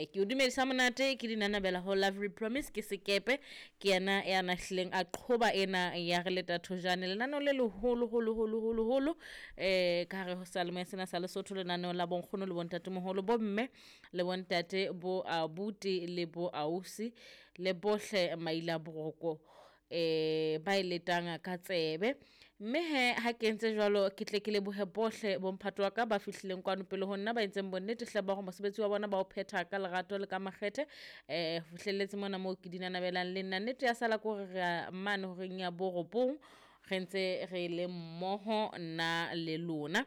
Ke o dumedisa monate ke dinanabela ho Lovely Promise ke sekepe ke yena ya nahlileng a qhoba ena ya re leta thojane lenaneo le leholo holo holo holo holo ka hare ho seyalemoya sena sa Lesotho, lenaneo la bonkgono le bontatemoholo, bomme le bontate, bo abuti le bo ausi le bohle maila boroko ba e letang ka tsebe. Mme he ha ke entse jwalo, ke tle ke lebohe bohle bomphato wa ka ba fihlileng kwano pele ho nna, ba entseng bonnete hle ba hore mosebetsi wa bona ba o phetha ka lerato le ka makgethe ho fihlelletse mona moo ke dinanabelang le nna. Nnete ya sala ke hore re a mane horeng ya borobong re ntse re le mmoho nna le lona.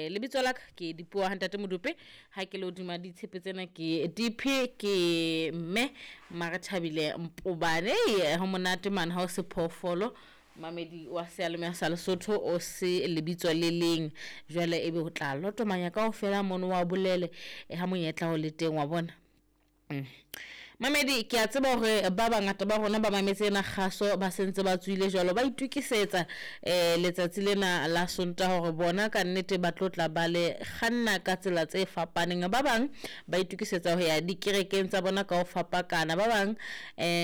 Lebitso la ka ke Dipuo ha Ntate Modupe, ha ke le hodima ditshepe tsena ke DP ke mme Marethabile Mpobane. Ho monate mane ha o se phoofolo, mamedi wa seyalemoya sa Lesotho o se lebitso le leng, jwale ebe o tla lotomanya kaofela mono wa bolele ha monyetla o le teng wa bona. Mamedi, ke a tseba hore ba bangata ba rona ba mametse ena kgaso ba sentse ba tswile jwalo, ba itukisetsa letsatsi lena la Sontaha hore bona ka nnete ba tlo tla ba le kganna ka tsela tse fapaneng. Ba bang ba itukisetsa ho ya dikerekeng tsa bona ka ho fapakana, ba bang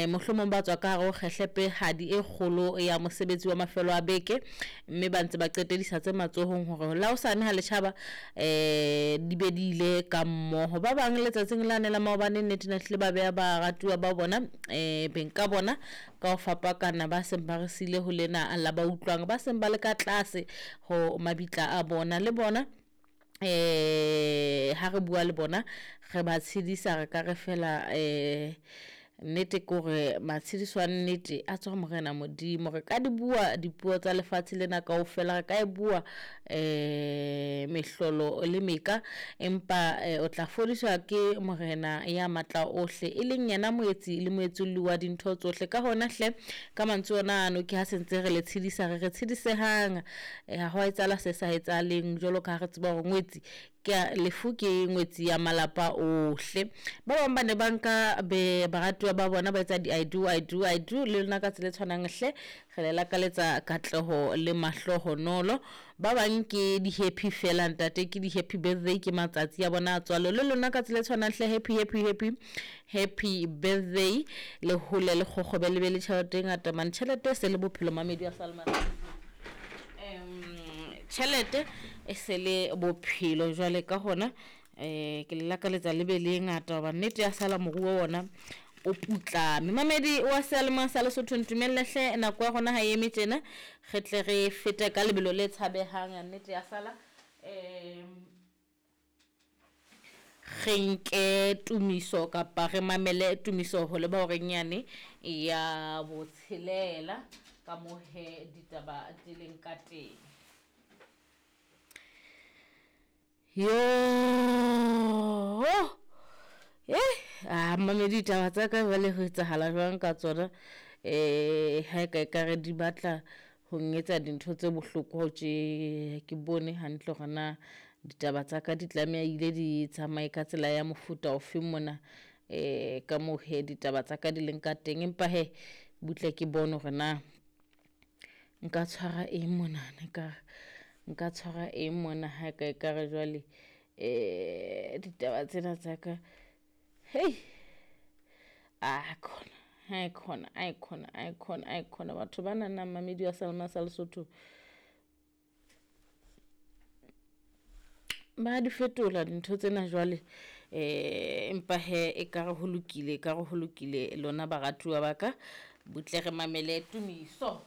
mohlomong ba tswa ka hare ho kgehlepehadi e kgolo ya mosebetsi wa mafelo a beke, mme ba ntse ba qetedisa tse matsohong hore la hosane ha le tjhaba di be di ile ka mmoho. Ba bang letsatsing lane la maobane nnete na hlile ba beha baratuwa ba bona beng ka bona ka ho fapakana, ba seng ba re siile ho lena la ba utlwang, ba seng ba le ka tlase ho mabitla a bona le bona. Ha re bua le bona re ba tshedisa, re ka re fela nnete ke hore matshediso a nnete a tswa Morena Modimo. Re ka di bua dipuo tsa lefatshe lena kaofela, re ka e bua mehlolo le meka, empa o tla fodiswa ke Morena ya matla ohle, e leng yena moetsi le moetsolli wa dintho tsohle. Ka hona hle ka mantswe ona ano ke ha sentse re le tshedisa, re re tshedisehang, ha ho a etsahala se sa etsahaleng, jwalo ka ha re tseba hore ngwetsi ke lefu ke ngwetsi ya malapa ohle. Ba bang ba ne ba nka be baratuwa ba bona ba etsa di I do, I do, I do le lona ka tsela e tshwanang hle re le lakaletsa katleho le mahlohonolo. Ba bang ke di-happy fela ntate, ke di-happy birthday, ke matsatsi a bona a tswalo le lona ka tsela e tshwanang hle happy, happy, happy, happy birthday. Le hole le kgokgobe le be le tjhelete e ngata mane, tjhelete e se le bophelo mamedi wa Salma. Tjhelete e se le bophelo jwale ka hona ke le lakaletsa le be le e ngata hoba nnete ya sala moruo ona o putlame. Mamedi wa seyalemoya sa Lesotho, ntumelle hle nako ya rona ha e eme tjena, re tle re fete ka lebelo le tshabehang. Nnete ya sala re nke tumiso kapa re mamele tumiso ho leba horeng yane ya botshelela ka moo he ditaba di leng ka teng. Yo, mamedi ditaba tsa ka jwale ho etsahala jwang ka tsona? Ha e ka ekare di batla ho nketsa dintho tse bohloko tje, ke bone hantle hore na ditaba tsa ka di tlameha ile di tsamaye ka tsela ya mofuta ofeng mona, ka moo he ditaba tsa ka di leng ka teng. Empa he butle ke bone hore na nka tshwara eng monana, nka tshwara eng mona ha ka ekare jwale ditaba tsena tsa ka, hei a khona, ai khona, ai khona, ai khona, ai khona. Batho ba nang mamedi wa Salma sa Lesotho ba di fetola dintho tsena jwale, empa he ekare ho lokile, ekare ho lokile lona baratuwa ba ka, butle re mamele tumiso.